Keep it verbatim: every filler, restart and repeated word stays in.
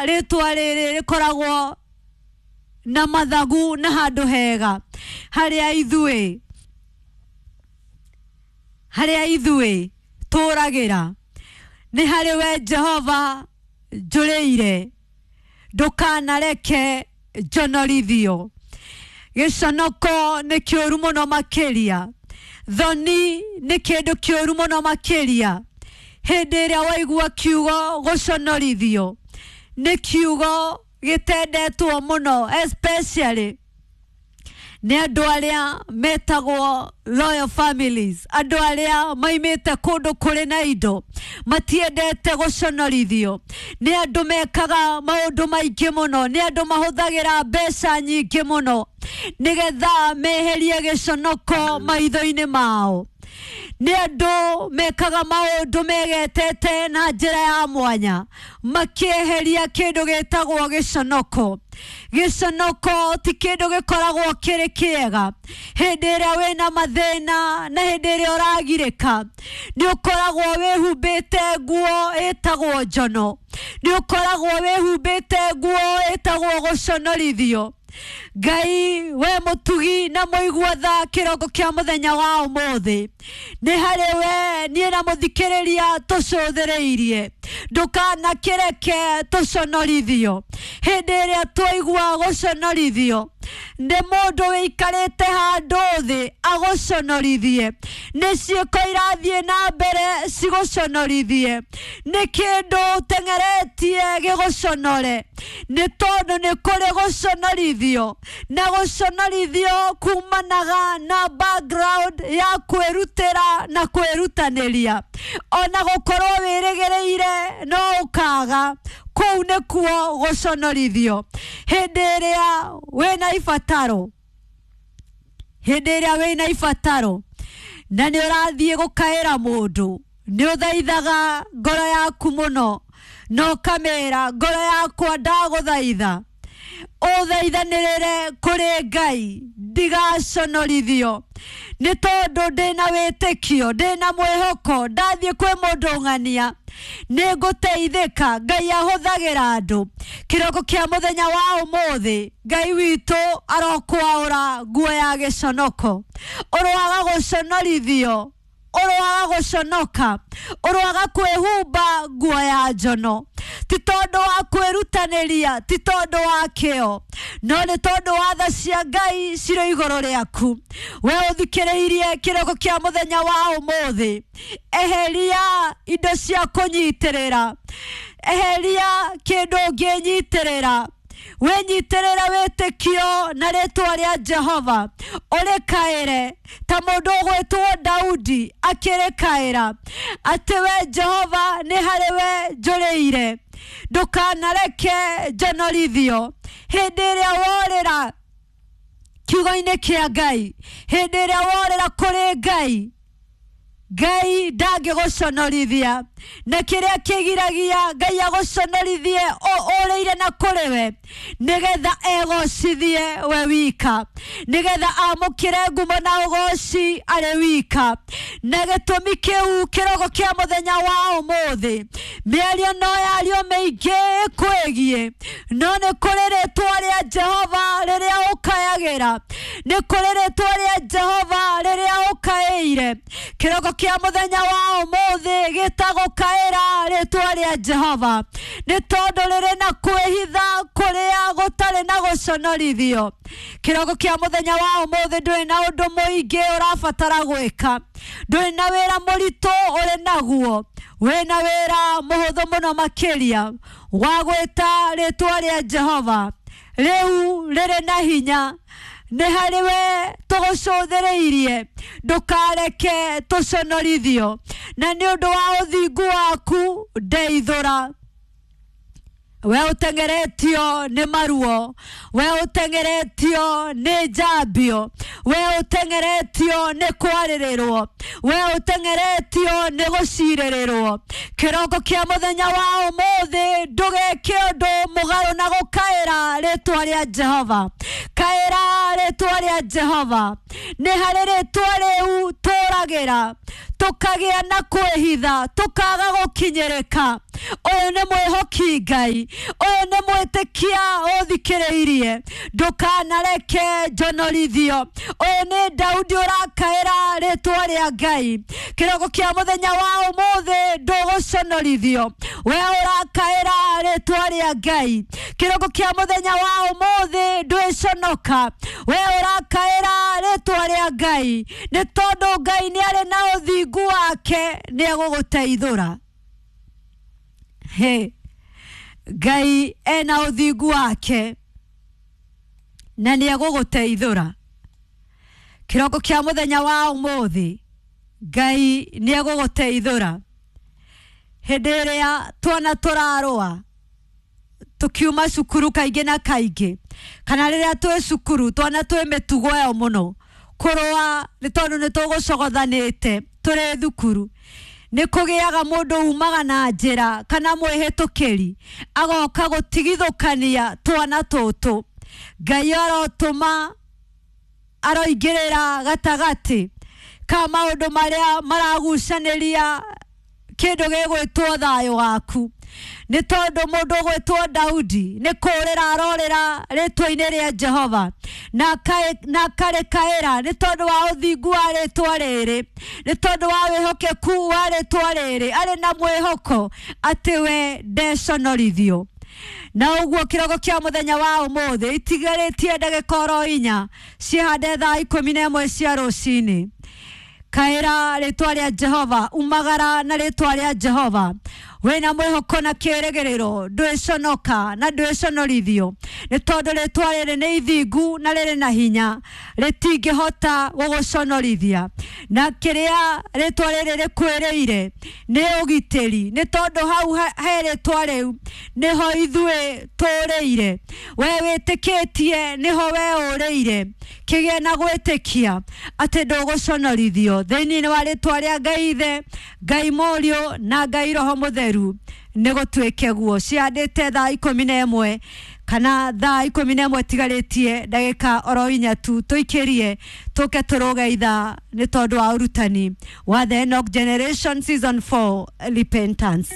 rĩtwa rĩrĩ rĩkoragwo na mathagu na handũ hega harĩa ithuĩ harĩa ithuĩ tũragĩra nĩ harĩ we Jehova njũrĩire ndũkanareke njonorithio. Gĩconoko nĩ kĩũru mũno makĩria, thoni nĩ kĩndũ kĩũru mũno makĩria. Hĩndĩ ĩrĩa waigua kiugo gũconorithio nĩ kiugo gĩtendetwo mũno, especially nĩ andũ arĩa metagwo royal families, andũ arĩa maimĩte kũndũ kũrĩ na indo matiendete gũconorithio. Nĩ andũ mekaga maũndũ maingĩ mũno, nĩ andũ mahũthagĩra mbeca nyingĩ mũno nĩgetha meherie gĩconoko maitho-inĩ mao. Nĩ andũ mekaga maũndũ megetete na njĩra ya mwanya makĩeheria kĩndũ gĩtagwo gĩconoko. Gĩconoko ti kĩndũ gĩkoragwo kĩrĩ kĩega. Hĩndĩ ĩrĩa wĩna mathĩna na hĩndĩ ĩrĩa ũragirĩka nĩ ũkoragwo wĩhumbĩte nguo ĩtagwo njono, nĩ ũkoragwo wĩhumbĩte nguo ĩtagwo gũconorithio. Ngai we mũtugi na mũigua tha kĩroko kĩa mũthenya wa ũmũthĩ nĩ harĩ we niĩ na mũthikĩrĩria tũcũthĩrĩirie, ndũkanakĩreke tũconorithio. Hĩndĩ ĩrĩa twaigua gũconorithio nĩ mũndũ wĩikarĩte handũ thĩ agũconorithie, nĩ ciĩko irathiĩ na mbere cigũconorithie, nĩ kĩndũ ũteng'eretie gĩgũconore, nĩ tondũ nĩ kũrĩ gũconorithio, na gũconorithio kumanaga na background ya kwĩrutĩra na kwĩrutanĩria. Ona gũkorwo wĩrĩgĩrĩire no ũkaga, kũu nĩkuo gũconorithio. Hĩndĩ ĩrĩa wĩna ibataro, hĩndĩ ĩrĩa wĩna ibataro na nĩ ũrathiĩ gũkaĩra mũndũ, nĩ ũthaithaga ngoro yaku mũno na ũkamĩra ngoro yakwa ndagũthaitha ũthaithanĩrĩre kũrĩ Ngai ndigaconorithio, nĩ tondũ ndĩna wĩtĩkio, ndĩna mwĩhoko, ndathiĩ kwĩ mũndũ ng'ania nĩ ngũteithĩka. Ngai ahũthagĩra andũ. Kĩroko kĩa mũthenya wa ũmũthĩ Ngai witũ arokwaũra nguo ya gĩconoko. Ũroaga gũconorithio, ũroaga gũconoka, ũroaga kwĩhumba nguo ya njono, ti tondũ wa kwĩrutanĩria, ti tondũ wa kĩo, no nĩ tondũ wa tha cia Ngai cirĩ igũrũ rĩaku. We ũthikĩrĩirie kĩroko kĩa mũthenya wa ũmũthĩ, eheria indo cia kũnyitĩrĩra, eheria kĩndũ ũngĩnyitĩrĩra, wĩnyitĩrĩre wĩtĩkio na rĩtwa rĩa Jehova, ũrĩkaĩre ta mũndũ ũgwĩtwo Daudi akĩrĩkaĩra atĩ we Jehova nĩ harĩ we njũrĩire, ndũkanareke njonorithio. Hĩndĩ ĩrĩa worĩra kiugo-inĩ kĩa Ngai, hĩndĩ ĩrĩa worĩra kũrĩ Ngai, Ngai ndangĩgũconorithia, na kĩrĩa kĩgiragia Ngai agũconorithie ũrĩire na kũrĩ we nĩgetha egocithie we wika, nĩgetha amũkĩre ngumo na ũgoci arĩ wika. Na gĩtũmi kĩu kĩroko kĩa mũthenya wa ũmũthĩ, mĩario no yario mĩingĩ ĩkwĩgiĩ, no nĩ kũrĩ rĩtwa rĩa Jehova rĩrĩa ũkayagĩra, nĩ kũrĩ rĩtwa rĩa Jehova rĩrĩa ũkaĩire. Kĩroko kĩa mũthenya wa ũmũthĩ gĩtagwo kaĩra rĩtwa rĩa Jehova, nĩ tondũ rĩrĩ na kwĩhitha kũrĩa gũtarĩ na gũconorithio. Kĩroko kĩa mũthenya wa ũmũthĩ ndũrĩ na ũndũ mũingĩ ũrabatara gwĩka, ndũrĩ na wĩra mũritũ ũrĩ naguo, wĩna wĩra mũhũthũ mũno makĩria wa gwĩta rĩtwa rĩa Jehova. Rĩu rĩrĩ na hinya, nĩ harĩ we tũgũcũthĩrĩirie, ndũkareke tũconorithio, na nĩ ũndũ wa ũthingu waku ndeithũra. We ũteng'eretio nĩ maruo, we ũteng'eretio nĩ njambio, we ũteng'eretio nĩ kwarĩrĩrwo, we ũteng'eretio nĩ gũcirĩrĩrwo. Kĩroko kĩa mũthenya wa ũmũthĩ ndũgeke ũndũ mũgarũ na gũkaĩra rĩtwa rĩa Jehova. Kaĩra rĩtwa rĩa Jehova, nĩ harĩ rĩtwa rĩu tũragĩra, tũkagĩa na kwĩhitha, tũkaga gũkinyĩrĩka. Ũyũ nĩ mwĩhoki Ngai, ũyũ nĩ mwĩtĩkia ũthikĩrĩirie, ndũkanareke njonorithio. Ũyũ nĩ Daudi ũrakaĩra rĩtwa rĩa Ngai. Kĩroko kĩa mũthenya wa ũmũthĩ ndũgũconorithio, we ũrakaĩra rĩtwa rĩa Ngai. Kĩroko kĩa mũthenya wa ũmũthĩ ndwĩconoka, we ũrakaĩra rĩtwa rĩa Ngai, nĩ tondũ Ngai nĩ arĩ na ũthingu wake, nĩ egũgũteithũra. He, Ngai ena ũthingu wake na nĩ egũgũteithũra. Kĩroko kĩa mũthenya wa ũmũthĩ Ngai nĩ egũgũteithũra. Hĩndĩ ĩrĩa twana tũrarũa tukiuma cukuru kaingĩ na kaingĩ, kana rĩrĩa twĩ cukuru twana twĩ mĩtugo ĩyo mũno kũrũa, nĩ tondũ nĩ tũgũcogothanĩte tũrĩ thukuru, nĩ kũgĩaga mũndũ umaga na njĩra kana mwĩhĩtũkĩri agoka gũtigithũkania twana tũtũ. Ngai arotũma aroingĩrĩra gatagatĩ ka maũndũ marĩa maragucanĩria kĩndũ gĩgwĩtwo thayũ waku, nĩ tondũ mũndũ ũgwĩtwo Daudi nĩ kũũrĩra arorĩra rĩtwa-inĩ rĩa Jehova, na akarĩkaĩra nĩ tondũ wa ũthingu wa rĩtwa rĩrĩ, nĩ tondũ wa wĩhokeku wa rĩtwa rĩrĩ, arĩ na mwĩhoko atĩ we ndeconorithio. Na ũguo kĩroko kĩa mũthenya wa ũmũthĩ itigarĩtie ndagĩka oro inya cihande thaa ikũmi na ĩmwe cia rũcinĩ. Kaĩra rĩtwa rĩa Jehova, umagara na rĩtwa rĩa Jehova, wĩna mwĩhoko na kĩĩrĩgĩrĩro, ndwĩconoka na ndwĩconorithio, nĩ tondũ rĩtwa rĩrĩ nĩ ithingu na rĩrĩ na hinya, rĩtingĩhota gũgũconorithia. Na kĩrĩa rĩtwa rĩrĩ rĩkwĩrĩire nĩ ũgitĩri, nĩ tondũ hau he rĩtwa rĩu nĩho ithuĩ tũrĩire. We wĩtĩkĩtie nĩho we ũrĩire, kĩgĩe na gwĩtĩkia atĩ ndũgũconorithio. Thĩinĩ wa rĩtwa rĩa Ngai Ithe, Ngai Mũriũ na Ngai Roho Mũtheru, nĩ gũtuĩke guo. Ciandĩte thaa ikũmi na ĩmwe kana thaa ikũmi na ĩmwe tigarĩtie ndagĩka oro inya tu, tũikĩrie tũke tũrũge ithaa nĩ tondũ wa ũrutani wa The Enoch Generation Season four Repentance.